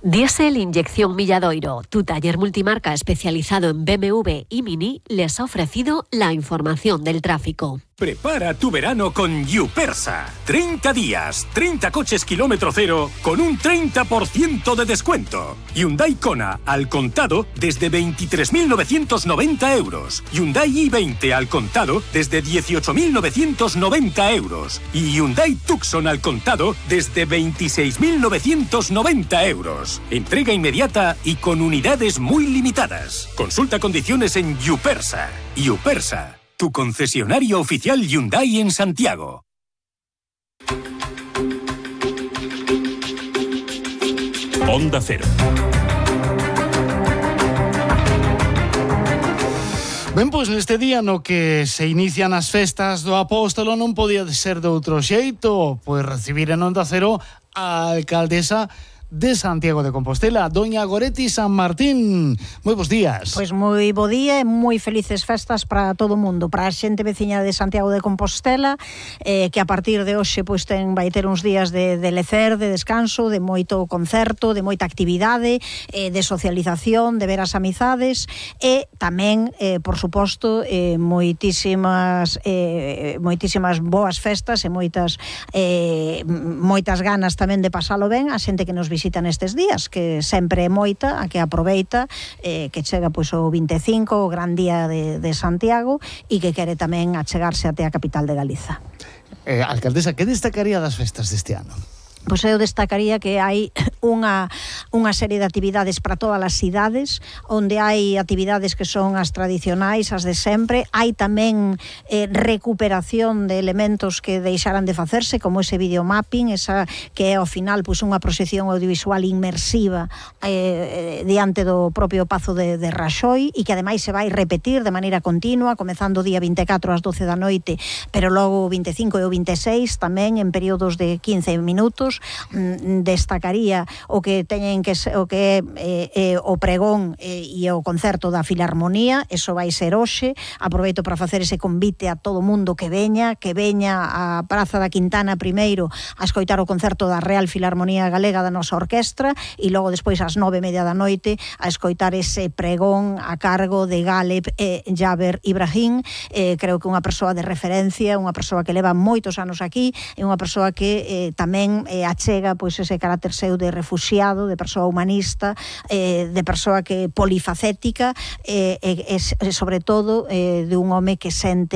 Diesel Inyección Milladoiro, tu taller multimarca especializado en BMW y Mini, les ha ofrecido la información del tráfico. Prepara tu verano con Yupersa. 30 días, 30 coches kilómetro cero con un 30% de descuento. Hyundai Kona al contado desde 23.990 euros. Hyundai i20 al contado desde 18.990 euros. Y Hyundai Tucson al contado desde 26.990 euros. Entrega inmediata y con unidades muy limitadas. Consulta condiciones en Yupersa. Yupersa, tu concesionario oficial Hyundai en Santiago. Onda Cero. Ben, pois neste día no que se inician as festas do Apóstolo non podía ser de outro xeito, pois recibir en Onda Cero a alcaldesa de Santiago de Compostela, doña Goretti San Martín. Moi bons días. Pois moi bo día e moi felices festas para todo o mundo, para a xente veciña de Santiago de Compostela, que a partir de hoxe pois vai ter uns días de lecer, de descanso, de moito concerto, de moita actividade, de socialización, de ver as amizades e tamén, por suposto, moitísimas boas festas e moitas ganas tamén de pasalo ben a xente que nos visita nestes días, que sempre é moita a que aproveita, que chega pois o 25, o gran día de Santiago, e que quere tamén achegarse até a capital de Galiza. Alcaldesa, que destacaría das festas deste ano? Pois eu destacaría que hai unha serie de actividades para todas as cidades, onde hai actividades que son as tradicionais, as de sempre. Hai tamén recuperación de elementos que deixaran de facerse, como ese videomapping, esa que é ao final pois unha proxección audiovisual inmersiva diante do propio Pazo de Raxoi, e que ademais se vai repetir de maneira continua, comezando o día 24 ás 12 da noite, pero logo o 25 e o 26 tamén en períodos de 15 minutos. Destacaría o que teñen que o que é o pregón e o concerto da Filarmonía. Eso vai ser hoxe. Aproveito para facer ese convite a todo mundo que veña á Praza da Quintana primeiro a escoitar o concerto da Real Filarmonía Galega da nosa orquestra, e logo despois ás 9:30 da noite a escoitar ese pregón a cargo de Galeb e Jaber Ibrahim. Creo que unha persoa de referencia, unha persoa que leva moitos anos aquí, e unha persoa que tamén achega pois ese carácter seu de refuxiado, de persoa humanista, de persoa que polifacética, e sobre todo de un home que sente